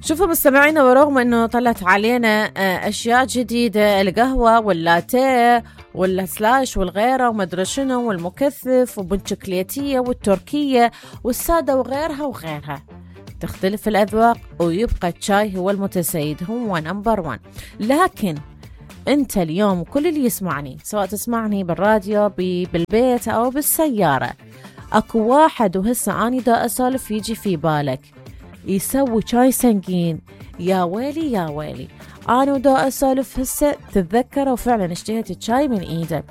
شوفوا مستمعينا، ورغم انه طلعت علينا اشياء جديدة، القهوة واللاتيه والسلاش والغيره ومدري شنو والمكثف وبالشوكلياتية والتركية والسادة وغيرها وغيرها، تختلف الأذواق ويبقى الشاي هو المتسيد، هو نمبر 1. لكن انت اليوم كل اللي يسمعني، سواء تسمعني بالراديو بالبيت او بالسيارة، اكو واحد وهسه اني دا اسولف يجي في بالك يسوي شاي سنجين. يا ويلي يا ويلي، انا ودا اسولف هسه تتذكروا فعلا اشتهيت الشاي من ايده،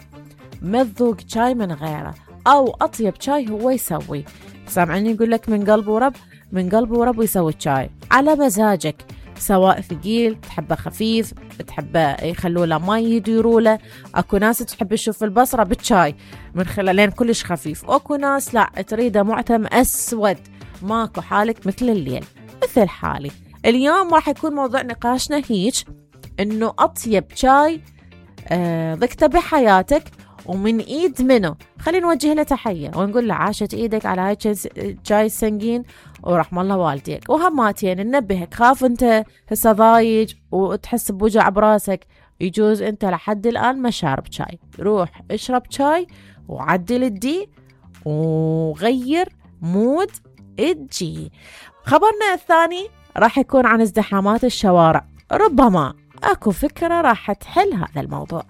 ما تذوق شاي من غيره، او اطيب شاي هو يسوي. سامعني يقول لك من قلب ورب، من قلب ورب يسوي الشاي على مزاجك، سواء ثقيل تحبه خفيف، تحبه يخلوا له مي يديروا له. اكو ناس تحب تشوف البصره بالشاي من خلالين كلش خفيف، اكو ناس لا تريده معتم اسود، ماكو حالك مثل الليل مثل حالي. اليوم راح يكون موضوع نقاشنا هيك، انه اطيب شاي ذقته بحياتك ومن ايد منه. خلينا نوجه له تحيه ونقول له عاشت ايدك على هاي شاي سنجين ورحم الله والديك. وهماتين ننبهك، خاف انت هسه ضايج وتحس بوجع براسك، يجوز انت لحد الان ما شارب شاي، روح اشرب شاي وعدل الدي وغير مود الجي. خبرنا الثاني راح يكون عن ازدحامات الشوارع، ربما اكو فكرة راح تحل هذا الموضوع.